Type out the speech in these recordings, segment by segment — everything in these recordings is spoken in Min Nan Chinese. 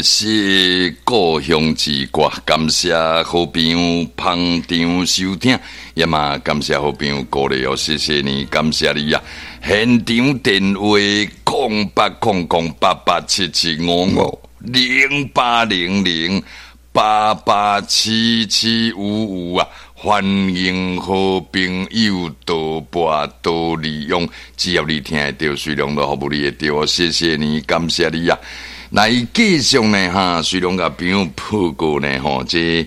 這是故鄉之歌，感謝好朋友捧場收聽，也嘛感謝好朋友鼓勵哦，謝謝你，感謝你啊！現場電話0800887755，0800887755啊！歡迎好朋友多撥多利用，只要你聽會著，水龍都服務你會著哦，謝謝你，感謝你啊！來繼續呢，哈，水龍共朋友報告呢，吼，這傷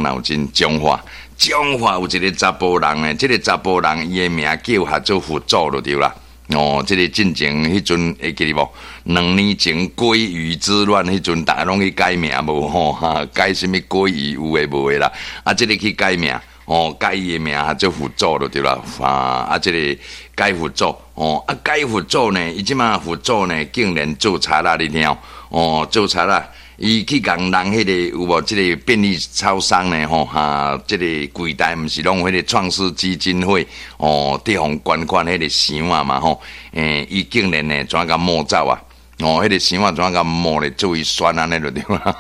腦筋彰化，彰化有一个查埔人呢，這个查埔人伊的名叫哈做佛祖就對啦。哦，這个進前彼陣會記得無？2年前鮭魚之亂彼陣，逐家攏去改名無吼？哈，改啥物鮭魚有的無的啦？啊，這个去改名，哦，改伊的名做佛祖就對啦。啊，這个改佛祖，哦，啊，改佛祖呢？伊這馬佛祖呢，竟然做賊仔，你聽哦，做賊仔，伊去共人彼个有無？這个便利超商呢？吼哈，這个櫃台毋是攏有彼个創世基金會哦，佇予捐款彼个箱仔嘛吼？伊竟然呢，怎共摸走啊？哦，彼个箱仔怎共摸咧？做伊酸按呢就對啦，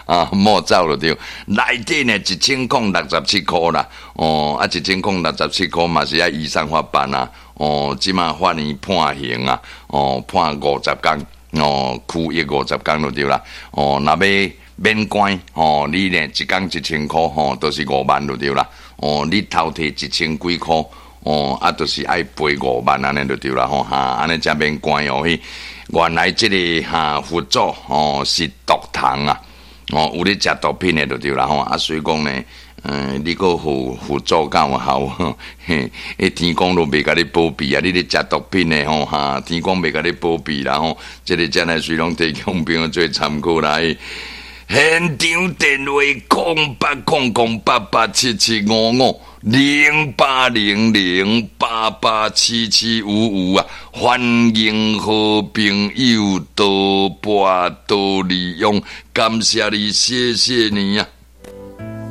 啊，摸走就對。內底呢1067箍啦，哦，啊，1067箍嘛是愛依上法辦啊。哦，這馬法院判刑啊，哦，判50工。哦，拘役50工就對啦。哦，若欲免關，哦，你呢一工1000箍，吼，都是5萬就對啦。哦，你偷提1000幾箍，哦，啊，就是愛賠5萬按呢就對啦。吼，哈，按呢才免關哦。彼原來這个哈佛祖哦是毒蟲啊，哦，有咧食毒品的就對啦。吼，啊，所以講呢，你閣佛佛祖敢有效？嘿，天公都袂共你保庇啊！你咧食毒品的吼，哈，天公袂共你保庇啦吼。這个才來隨攏提供朋友做參考啦。現場電話0800887755，0800887755啊！歡迎好朋友多撥多利用，感謝你，謝謝你啊！